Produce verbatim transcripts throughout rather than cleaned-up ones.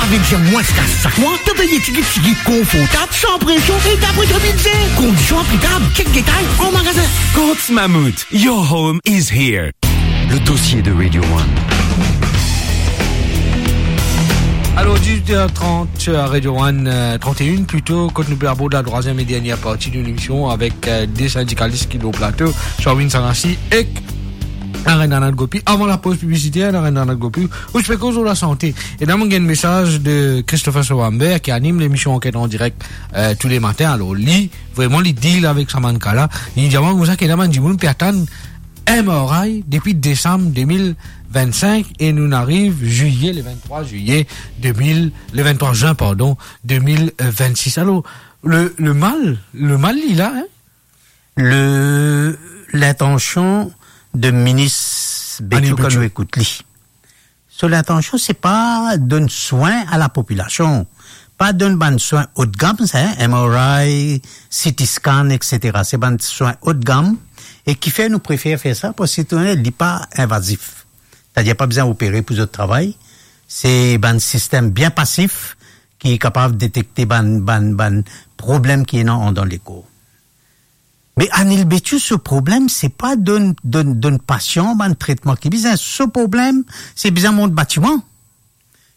Vinn dir mwins kas sak mwa, to peye tiki tiki, konfortab, san presion e dapre to bidze. Kondision aplikab, chek detay an magazin. Courts Mammouth, your home is here. Le dossier de Radio One. Alors, dix-huit heures trente à Radio One, euh, trente et une plutôt, quand nous abordons la troisième et dernière partie de l'émission avec, euh, deux syndicalistes qui sont au plateau, Sharwin Sarassi et Narendra Nath Gopi. Avant la pause publicitaire, Narendra Nath Gopi, ou ti pe koz lor lasante. E la, mo gagn mesaz de Christopher Sowamber, ki anim lemision Ankèt an direk, euh, tous les matins. Alors, li, vreman, li deal avek sa bann ka la. Li dir mwa koumsa ki ena bann dimoun pe atann M R I depi desam deux mille vingt-cinq e nou ariv zwiye, le vingt-trois zwiye deux mille, le vingt-trois juin, pardon, deux mille vingt-six. Alors, le, le mal, le mal, li la, hein? Le, lintansion de minis Béthiou, Anil Béthiou, kan nou ekout li. So lintansion, se pa donn swin a lapopilasion. Pa donn bann swin haut de gamme, sa, hein, M R I, C T scan, et cetera. Se bann swin haut de gamme. E kifer nou prefer fer sa? Parski li pa invazif. Setadir, pa bizin opere pou zot travay. Se bann sistem bien pasif ki kapav detekte bann, bann, bann problem ki ena andan lekor. Me Anil Béthiou, so problem, se pa donn, donn, donn pasian bann tretman ki bizin. So problem, se bizin mont batiman.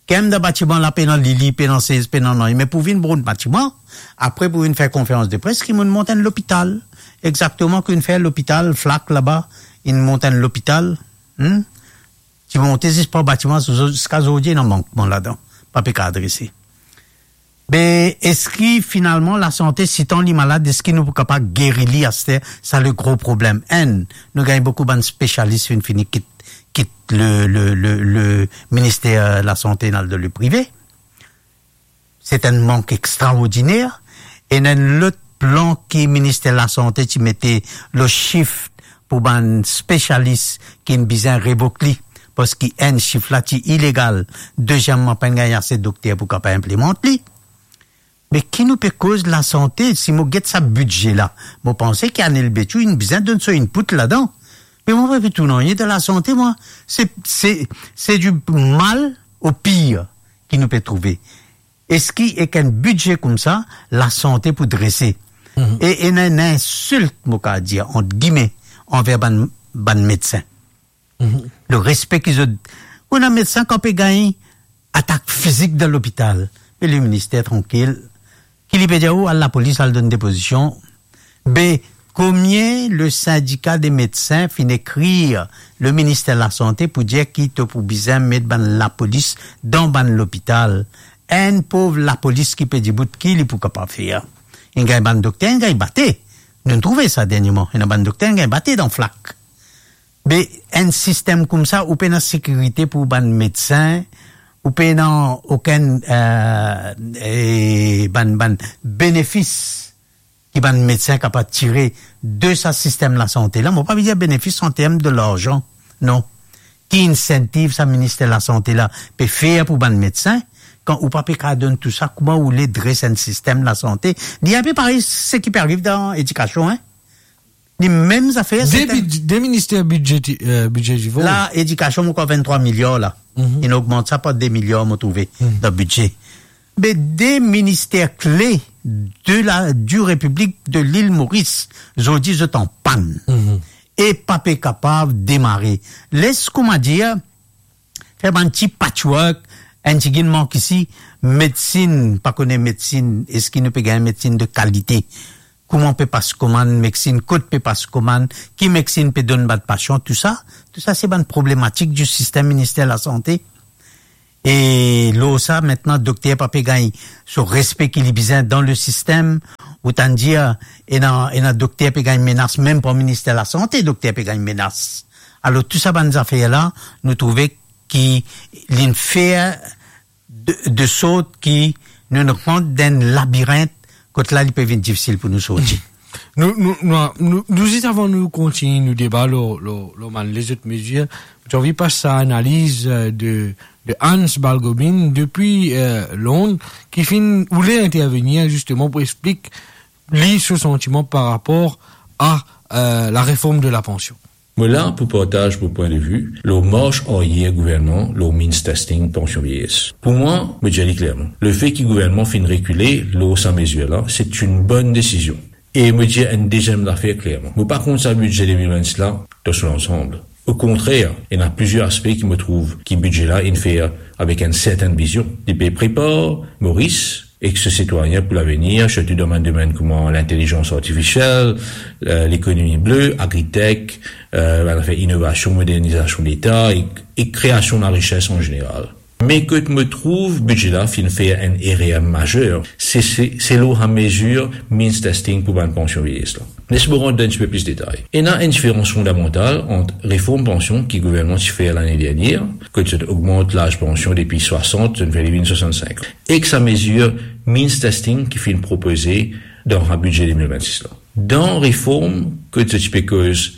Kan dan batiman la, pena lili, pena sez, pena nanye. Me pou vinn mont batiman, apre pou vinn fer konferans de pres, ki monn mont enn lopital. Exakteman, ki vinn fer lopital, Flacq laba, inn mont enn lopital. Hmm? Ti monte zis par batiman, ziska zordi ena mankman ladan. Pa pe kapav drese. Be, eski finalman lasante, sitan li malad, eski nou pou kapav geri li aster? Sa le gro problem. Enn, nou gagn boukou bann spesialis finn fini kit, kit le, le, le, le minister lasante, al dan le prive. Se enn mank extraordiner. E enn lot plan ki minister lasante ti mete lor sif pou bann spesialis ki inn bizin revok li, parski enn, sif la ti ilegal, deziem, pa inn gagn ase dokter pou kapav inplimant li. Me ki nou pe koz lasante, si mo get sa bidze la, mo panse ki Anil Béthiou inn bizin donn so input ladan. Me mo pa pe trouv nanye dan lasante, mwa. Se, se, se du mal au pire ki nou pe trouve. Eski ek enn bidze koumsa, lasante pou drese? Mhm. E ena enn insilt, mo kapav dir, ant gime, anver bann, bann medsin. Mhm. Le respe ki zot, ou ena medsin kan pe gagn atak fizik dan lopital, me le minister trankil, ki li pe dir ou, al lapolis, al donn depozision. Be, komie le sindika de medsin finn ekrir le minister lasante pou dir ki to pou bizin met bann lapolis dan bann lopital? Enn pov lapolis ki pe dibout, ki li pou kapav fer? Inn gagn bann dokter, inn gagn bate. Nou'nn trouve sa dernieman. Ena bann dokter inn gagn bate dan Flacq. Be, enn sistem koumsa, ou pena sekirite pou bann medsin, ou pena okenn, eh, eh, bann, bann benefis ki bann medsin kapav tire de sa sistem lasante la. Mo pa pe dir benefis an term de larzan, non. Ki insentiv sa minister lasante la pe fer pou bann medsin, kan ou pa pe kapav donn tou sa, kouma ou le dres enn sistem lasante? Li inpe parey seki pe ariv dan edikasion, hein? Li mem zafer, de, se enn bid-, de minister bidjeti-, eh, bidjetivor. La, edikasion, mo krwar vinn-trwa miliar la. Mhm. Inn ogmant sa par de miliar, mo trouve, mhm, dan bidze. Be de minister kle de la, du Repiblik de Lil Moris, zordi zot an pann. Mhm. E pa pe kapav demare. Les, kouma dir, fer bann ti patchwork, enn tigit mank isi, medsin, pa kone medsin, eski nou pe gagn medsin de kalite? Kouma pe pas komann medsin, kot pe pas komann, ki medsin pe donn bann pasian, tou sa, tou sa se bann problematik di sistem minister lasante. E lor sa, aster dokter pa pe gagn so respe ki li bizin dan le sistem. Otan dir, ena, ena dokter pe gagn menas, mem par minister lasante, dokter pe gagn menas. Alor, tou sa bann zafer la, nou trouve ki li'nn fer de, de sort ki nou, nou rant dan enn labirint, kot la, li pe vinn difisil pou nou sorti. Nou, nou, nou, nou, nou, zis avan nou kontigne nou deba lor, lor, lor bann lezot mezir, mo ti anvi pas sa analiz, eh, de, de Hans Balgobin depi, eh, Lond, ki finn oule intervenir zisteman pou explik li so santiman par rapor a, eh, la reform de la pansion. Mo la pou partaz mo pwin de vi lor mars aryer gouvernman lor means testing pansion vieyes. Pou mwa, mo dir li klerman, lefe ki gouvernman finn rekile lor sa mezir la, se enn bonn desizion. E mo dir enn deziem zafer klerman, mo pa kont sa bidze de mil vennsis la dan so lansam. Okontrer, ena plizier aspe ki mo trouv ki bidze la inn fer avek enn sertenn vizion. Li pe prepar Moris ek so sitwayin pou lavenir, sirtou dan bann domenn kouma lintelizans artifisiel, eh, lekonomi ble, agritech, eh, bann zafer inovasion, modernizasion Leta ek, ek kreasion larises an zeneral. Me kot mo trouv bidze la finn fer enn erer mazer, se, se, se lor sa mezir means testing pou bann pansion vieyes la. Les mo rant dan enn tipe plis detay. Ena enn diferans fondamantal ant reform pansion ki gouvernman ti fer lane dernier, kot zot ogmant laz pansion depi swasant, zot fer li vinn swasannsink an, ek sa mezir means testing ki finn propoze dan sa bidze de mil vennsis la. Dan reform kot zot ti pe koz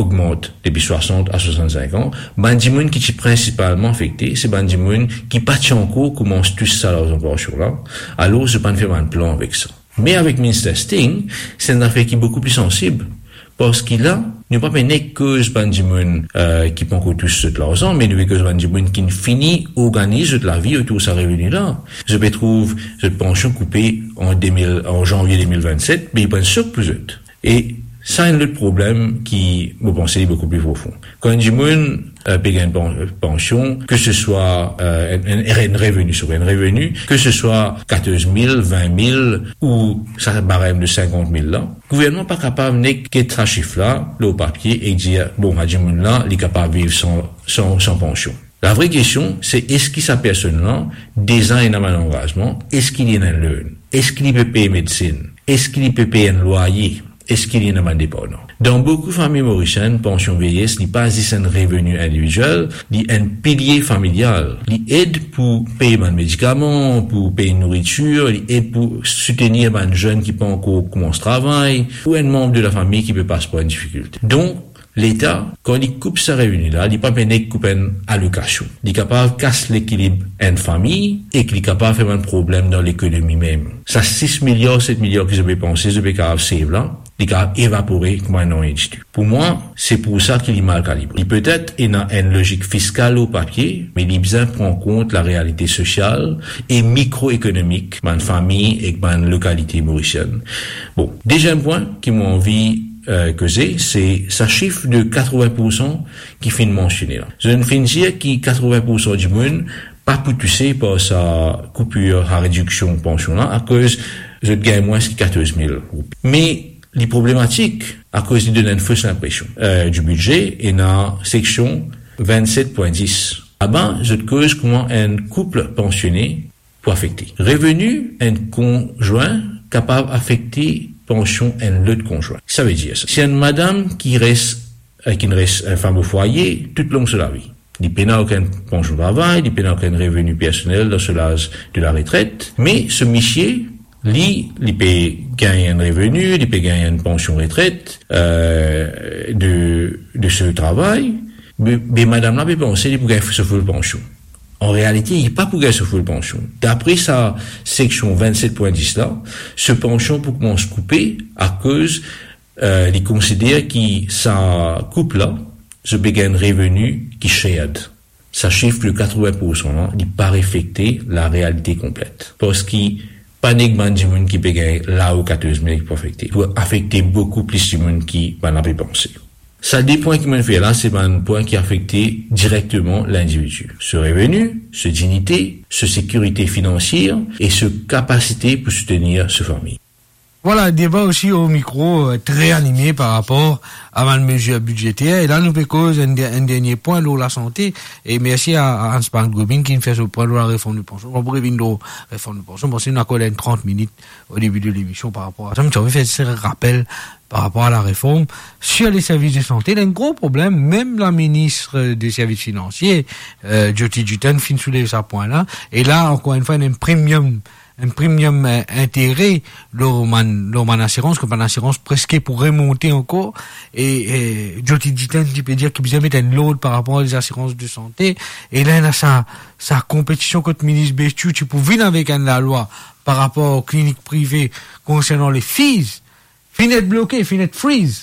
ogmant depi swasant a swasannsink an, bann dimoun ki ti prinsipalman afekte, se bann dimoun ki pa ti ankor koumans tous sa larzan pansion la, alor zot pa'nn fer bann plan avek sa. Me avek means testing, se enn zafer ki boukou pli sansib, parski la, nou pa pe nek koz bann dimoun, eh, ki pa ankor tous zot larzan, me nou pe koz bann dimoun ki finn fini organiz zot lavi otour sa reveni la. Zot pe trouv zot pansion koupe an de mil, an zanvie de mil vennset, me li pou enn sok pou zot. E sa enn lot problem ki, mo panse, li boukou pli profon. Kan enn dimoun, eh, pe gagn pan-, pansion, ke se swa, eh, enn, enn, enn reveni, swa enn reveni, ke se swa katorz mil, vin mil ou sa barem de sinkant mil la, gouvernman pa kapav nek get sa sif la lor papie e dir, bon, sa dimoun la, li kapav viv san, san, san pansion. Lavre kestion, se eski sa personn la deza ena bann langazman, eski li ena enn loan, eski li pe pey medsin, eski li pe pey enn lwaye, eski li ena bann depandan. Dan boukou fami morisienn, pansion vieyes, li pa zis enn reveni individiel, li enn pilie familial. Li ed pou pey bann medikaman, pou pey nouritir, li ed pou soutenir bann zenn ki pa ankor koumans travay, ou enn manb de lafami ki pe pas par enn difikilte. Donk, Leta, kan li koup sa reveni la, li pa pe nek koup enn alokasion. Li kapav kas lekilib enn fami ek li kapav fer bann problem dan lekonomi mem. Sa sis miliar, set miliar ki zot pe panse zot pe kapav save la, li kapav evapore kouma nanye ditou. Pou mwa, se pou sa ki li mal kalibre. Li petet ena enn lozik fiskal lor papie, me li bizin pran kont larealite sosial e mikroekonomik bann fami ek bann lokalite morisienn. Bon, deziem pwin ki mo anvi eh, koze, se sa sif de katrovin poursan ki finn mansione la. Zot finn dir ki katrovin poursan dimoun pa pou touse par sa koupir, sa rediksion pansion la, akoz zot gagn mwins ki katorz mil roupi. Me li problematik, akoz li donn enn fos linpresion, eh, di bidze, ena seksion vennset pwin dis. Laba, zot koz kouma enn koup pansione pou afekte. Reveni enn konzwin kapav afekte pansion enn lot konzwin. Savedir sa, si enn madam ki res, eh, ki res enn fam o fwaye toutlong so lavi, li pena okenn pansion travay, li pena okenn reveni personel dan so laz de laretret, me so misie, li, li pe gagn enn reveni, li pe gagn enn pansion retret, eh, de, de so travay, me, me madam la pe panse li pou gagn so ful pansion. An realite, li pa pou gagn so ful pansion. Dapre sa seksion vennset pwin dis la, so pansion pou koumans koupe akoz, eh, li konsider ki sa koup la, zot pe gagn reveni ki shared. Sa sif de katrovin poursan la, li pa reflekte larealite konplet. Parski pa nek bann dimoun ki pe gagn lao katorz mil ki pou afekte. Pou afekte boukou plis dimoun ki bann la pe panse. Sa de pwin ki mo fer la, se bann pwin ki afekte direkteman lindividi. So reveni, so dignite, so sekirite finansier e so kapasite pou soutenir so fami. Vwala, deba osi o mikro, eh, tre anime par rapor a bann mezir bidzeter. E la, nou pe koz enn de-, enn dernie pwin lor lasante. E mersi a, a Hans Marc Gobin ki finn fer so pwin lor lareform de pansion. Bon, pou revinn lor reform de pansion, bon, si nou akord enn trant minit o debi de lemision par rapor a sa, me ti anvi fer se rapel par rapor a lareform sir leservis de sante. Ena enn gro problem, mem laminis de servis finansie, eh, Jyoti Jiten finn soulev sa pwin la. E la, ankor enn fwa, ena enn premium, enn premium, eh, intere lor bann, lor bann asirans, ke bann asirans preske pou remonte ankor. E, eh, Jyoti Jiten, ti pe dir ki bizin met enn lord par rapor a lezasirans de sante. E la, ena sa, sa konpetision kot minis Bestiou, ti pou vinn avek enn lalwa par rapor klinik prive konsernan le fees. Finn et bloke, finn et freeze.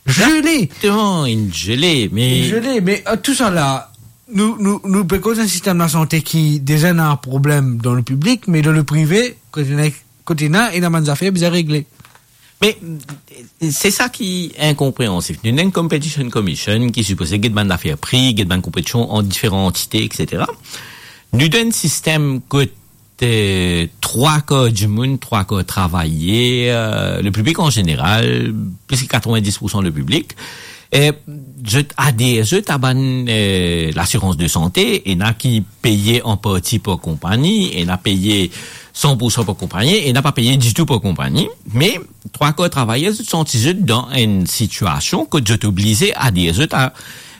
Zele. Exactement, une gelée, mais... Une gelée, mais, euh, tout sa la, nou, nou, nou pe koz enn sistem lasante ki deza ena problem dan le piblik, me dan le prive, kot ena, kot ena, ena bann zafer bizin regle. Me, se sa ki inkonpreansif. Nou ena enn Competition Commission ki sipoze get bann zafer pri, get bann konpetision ant diferan antite, et cetera. Nou dan enn sistem kot, eh, trwa kar dimoun, trwa kar travayer, eh, le piblik an zeneral, plis ki katrovin-dis poursan le piblik, eh, zot ader zot a bann, eh, lasirans de sante, ena ki peye an parti par konpagni, ena peye san poursan par konpagni, ena pa peye ditou par konpagni, me trwa kar travayer zot santi zot dan enn sitiasion kot zot oblize ader zot a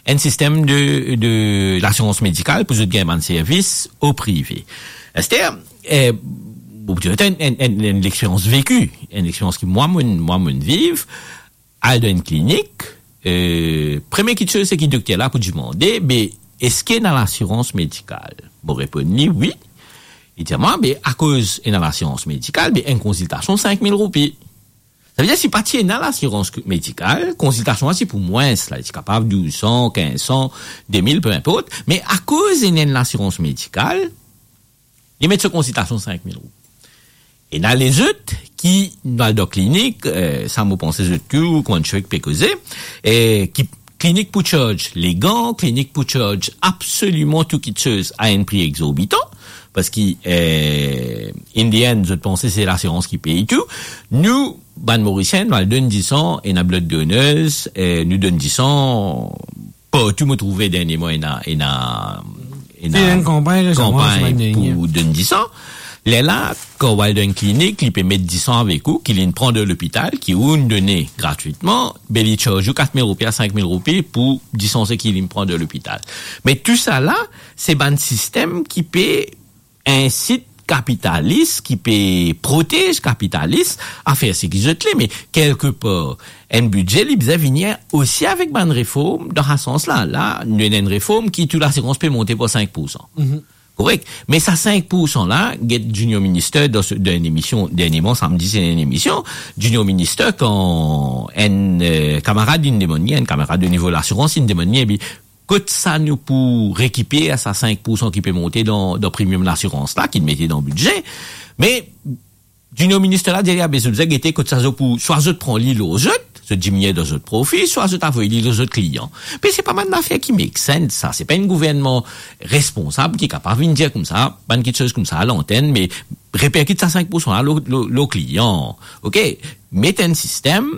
enn sistem de, de lasirans medikal pou zot gagn bann servis o prive. Aster, eh, bon, pou dir enn, enn, enn, enn lexperians veki, enn lexperians ki mwa, mo'nn, mwa, mo'nn viv, al dan enn klinik, eh, premie kiksoz seki dokter la pou dimande, be, eski ena lasirans medikal? Mo reponn li, wi. Li dir mwa, be, akoz ena lasirans medikal, be, enn konsiltasion sink mil roupi. Savedir, si pa ti ena lasirans medikal, konsiltasion la ti pou mwins, la, ti kapav douz san, kinz san, de mil, pe inport, me akoz ena enn lasirans medikal, li met so konsiltasion sink mil roupi. Ena lezot ki, nou al dan klinik, eh, sa mo panse zot tou, kouma enn chek pe koze, eh, ki klinik pou charge legan, klinik pou charge absoliman tou kiksoz a enn pri exorbitan, parski, eh, in the end, zot panse se lasirans ki pey tou. Nou, bann Morisien, nou al donn disan, ena blood donors, eh, nou donn disan, partou mo trouve dernieman ena, ena, ena... Ti ena enn kanpagn resaman, kanpagn pou donn disan. Lerla, kan ou al dan enn klinik, li pe met disan avek ou, ki li'nn pran dan lopital, ki ou'nn done gratwitman, be li charge ou kat mil roupi a sink mil roupi pou disan seki li'nn pran dan lopital. Me tou sa la, se bann sistem ki pe insit kapitalis, ki pe protez kapitalis a fer seki zot le. Me kelkepar, enn bidze, li bizin vini osi avek bann reform dan sa sans la. La, nou ena enn reform ki tou lasirans pe monte par sink poursan. Korek? Me sa sink poursan la, get Junior Minister dan se, dan enn emision, dernieman, samdi, se enn emision, Junior Minister, kan enn, eh, kamarad inn demann li, enn kamarad o nivo lasirans, inn demann li, epi kot sa nou pou rekiper sa sink poursan ki pe monte dan, dan premium lasirans la, ki mete dan bidze. Me Junior Minister la dir li, a be, zot bizin gete kot sa zot pou, swa zot pran li lor zot, zot diminie dan zot profi, swa zot avoy li lor zot klian. Me se pa bann zafer ki make sense, sa. Se pa enn gouvernman responsab ki kapav vinn dir koumsa, bann kiksoz koumsa a lantenn, me reperkit sa sink poursan la lor, lor, lor klian. Oke? Met enn sistem,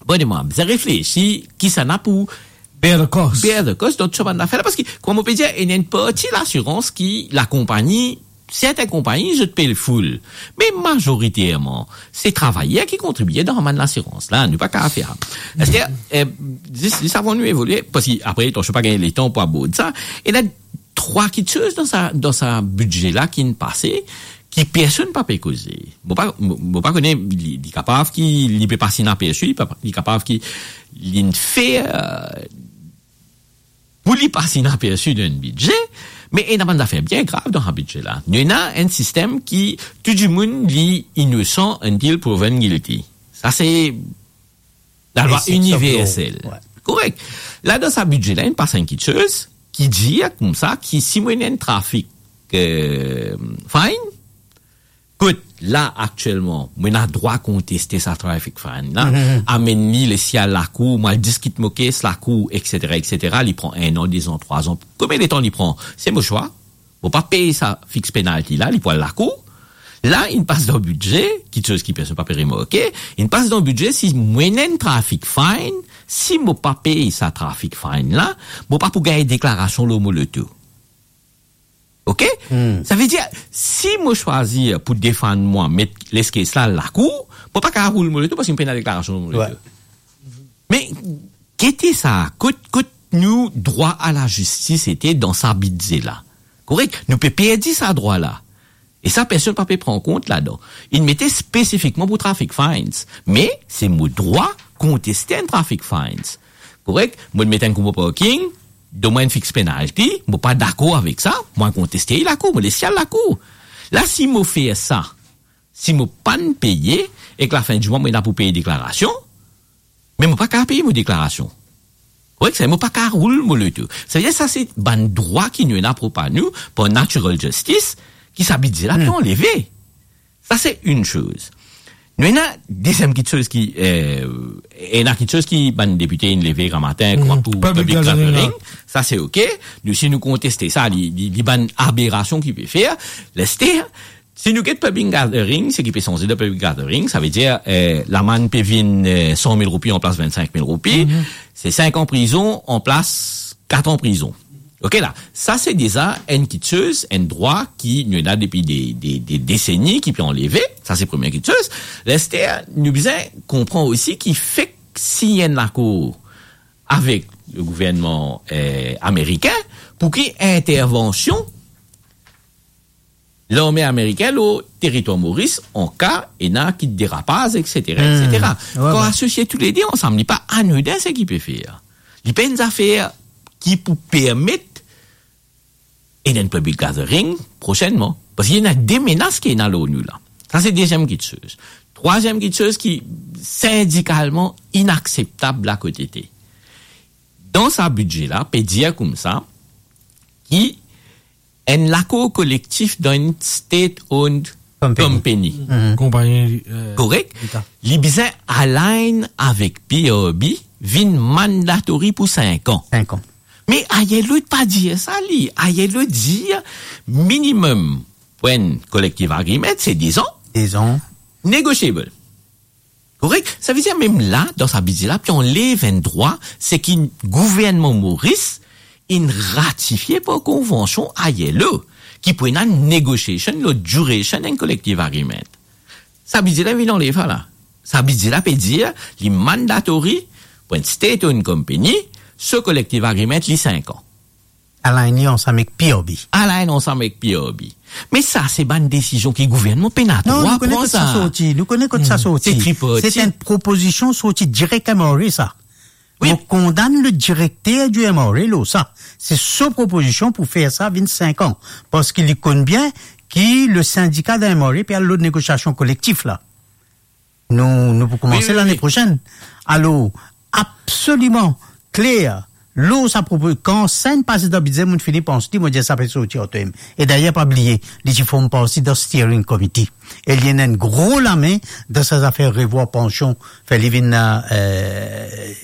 bon, e mwa, bizin reflesi, kisannla pou bear the cost. Bear the cost, donk, sa bann zafer la, parski, kouma mo pe dir, ena enn parti lasirans ki lakonpagni, sertin konpagni, zot pe le full. Me mazoriterman, se travayer ki kontribie dan bann lasirans la, nou pa kapav fer sa. Aster, eh, zis, zis avan nou evolie, parski apre, tansion pa gagn letan pou abord sa, ena trwa kiksoz dan sa, dan sa bidze la ki'nn pase, ki personn pa pe koze. Mo pa, mo, mo pa kone, li, li kapav ki li pe pas inapersi, li pa, li kapav ki li'nn fer, eh, pou li pas inapersi dan enn bidze, me ena bann zafer bien grav dan sa bidze la. Nou ena enn sistem ki tou dimoun li inosan until proven guilty. Sa se lalwa iniversel. Exception of law. Wi. Korek. La, dan sa bidze la, inn pas enn kiksoz ki dir koumsa ki si mo ena enn trafik, eh, fine, kot la, aktielman, mo ena drwa konteste sa trafik fine la, amenn li, les li al lakour, mo al diskit mo kes lakour, et cetera, et cetera. Li pran enn an, de zan, trwa zan. Konbien letan li pran? Se mo swa. Mo pa pey sa fix penalty la, li pou al lakour. La, inn pas dan bidze, kiksoz ki personn pa pe remarke, inn pas dan bidze, si mo ena enn trafik fine, si mo pa pey sa trafik fine la, mo pa pou gagn deklarasion lor mo loto. Oke? Savedir, si mo swazir pou defann mwa, met les kes la lakour, mo pa kapav roul mo loto parski mo pena deklarasion lor mo loto. Wi. Me gete sa, kot, kot nou drwa a lazistis ete dan sa bidze la. Korek? Nou pe perdi sa drwa la. E sa, personn pa pe pran kont ladan. Inn mete spesifikman pou trafik fines. Me se mo drwa konteste enn trafik fines. Korek? Mo met enn kou mo parking, donn mwa enn fix penalty, mo pa dakor avek sa, mo konteste li lakour, mo les li al lakour. La, si mo fer sa, si mo pa'nn peye, ek lafin di mwa, mo ena pou pey deklarasion, Me mo pa kapav pey mo deklarasion. Korek, sa, mo pa kapav roul mo loto. Savedir sa se bann drwa ki nou ena prop a nou par natural justice, ki sa bidze la, hmm, pe anleve. Sa se enn soz. Nou ena deziem kiksoz ki, eh, ena kiksoz ki bann depite inn leve gramatin, hmm, kouma pou public gathering, la. Sa se ok. Nou, si nou konteste sa, li, li, li bann aberasion ki pe fer, leste, si nou get public gathering, seki pe sanze de public gathering, savedir, eh, lamann pe vinn, eh, san mil roupi anplas vennsenk mil roupi, mhm, se sink an prizon anplas kat an prizon. Ok la, sa se deza enn kiksoz, enn drwa ki nou ena depi de, de, de deseni ki pe anleve, sa se premie kiksoz. Leste, nou bizin konpran osi ki fek sign enn lakor avek le gouvernman, eh, amerikin pou ki intervansion larme amerikin lor teritwar Moris, an ka ena ki derapaz, et cetera, hmm, et cetera. Wi, kan wi. Asosie toulede ansam, li pa anodin seki pe fer. Li pa enn zafer ki pou permet ena enn public gathering prosenman. Parski ena de menas ki ena lor nou la. Sa se deziem kiksoz. Trwaziem kiksoz ki sindikalman inakseptab lakotete. Dan sa bidze la, pe dir koumsa, ki enn lakor kolektif dan enn state-owned company. Company. Mhm. Konpagni, eh, korek? Leta. Li bizin align avek P R B, vinn mandatory pou sink an. Sink an. Me I L O pa dir sa li. I L O dir minimum pou enn collective agreement, se dez an. Dez an. Negotiable. Korek? Savedir mem la, dan sa bidze la, pe anlev enn drwa, seki gouvernman Moris inn ratifie par konvansion I L O, ki pou ena negotiation lor duration enn collective agreement. Sa bidze la vinn anlev sa la. Sa bidze la pe dir, li mandatory pou enn state-owned company, so collective agreement, li sink an. Align li ansam ek P R B. Align ansam ek P R B. Me sa, se bann desizion ki gouvernman pena drwa pran sa. Non, nou kone kot sa sorti, nou kone kot sa sorti. Hmm. Se triparti. Se enn propozision sorti direk M R A, sa. Wi. Mo kondann le direkter di M R A lor sa. Se so propozision pou fer sa vinn sink an. Parski li konn bien ki le sindika dan M R A pe al lor negosiasion kolektif la. Nou, nou pou koumanse lane prosenn. Wi, wi, wi. Alor, absoliman kler, lor sa propo-, kan sa inn pase dan bidze, mo fini pans li, mo dir sa pe sorti ar to'm. E dayer, pa bliye, li ti form parti dan steering committee. E li ena enn gro lame dan sa zafer revwar pansion, fer li vinn, eh,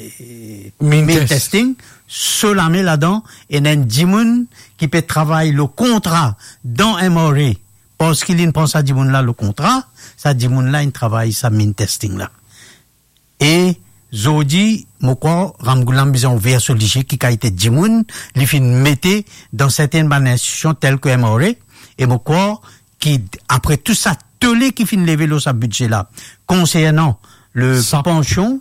mean mean test. Testing. So lame ladan, ena enn dimoun ki pe travay lor kontra dan M R A. Parski linn pran sa dimoun la lor kontra, sa dimoun la inn travay sa mean testing la. E zordi, mo krwar, Ramgoolam bizin ouver so lizie ki kalite dimoun li finn mete dan sertenn bann institusion tel ki M R A, e mo krwar ki apre tou sa tole ki finn leve lor sa bidze la, konsernan le SAP. Pansion,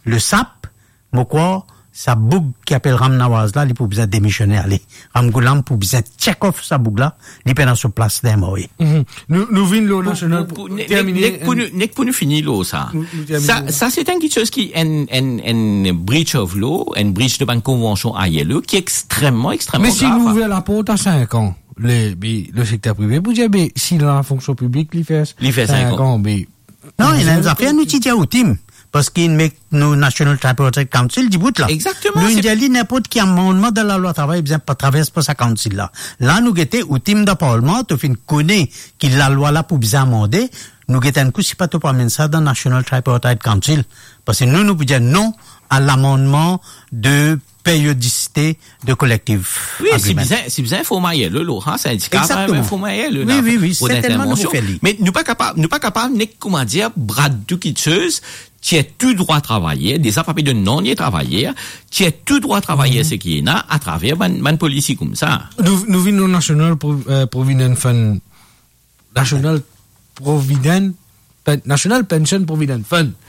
le SAP, mo krwar sa boug ki apel Ram Nawaz la, li pou bizin demisione ale. Ramgoolam pou bizin check off sa boug la, li pena so plas dan M R A. Mhm. Nou, nou vinn lor nasional pou, pou, pou nek, termine, nek pou nou, nek pou nou fini lor sa. Nou, nou termine sa, lor sa. Sa se enn kiksoz ki enn, enn, enn breach of law, enn breach de bann konvansion I L O ki ekstreman, ekstreman grav. Me si nou ouver laport a sink an, le, be, le sekter prive pou dir, be, si dan lafonksion piblik li fer, li fer sink an, be, Non, ena enn zafer nou ti dir OTIM, parski inn met nou National Tripartite Council dibout la. Egzakteman. Nou inn dir li ninport ki amannman dan lalwa travay bizin pa travers par sa council la. La nou gete OTIM dan parlman, to finn kone ki lalwa la pou bizin amande, nou gete enn kou si pa to pou amenn sa dan National Tripartite Council. Parski nou, nou pou dir non a lamannman de periodisite de collective agreement. Wi, si bizin, si bizin, form I L O, lo, ha, sindika, egzakteman, form I L O, wi, la, wi, wi, pou sertennman nou pou intervansion. Fer li. Me nou pa kapav, nou pa kapav nek, kouma dir, brad tou kiksoz, tir tou drwa travayer, deza pa pe donn nanye travayer, tir tou drwa travayer, mhm, seki ena atraver bann, bann polisi koumsa. Nou, nou vinn lor National Pro-, eh, Provident Fund, National Provident, Pen-, National Pension Provident Fund.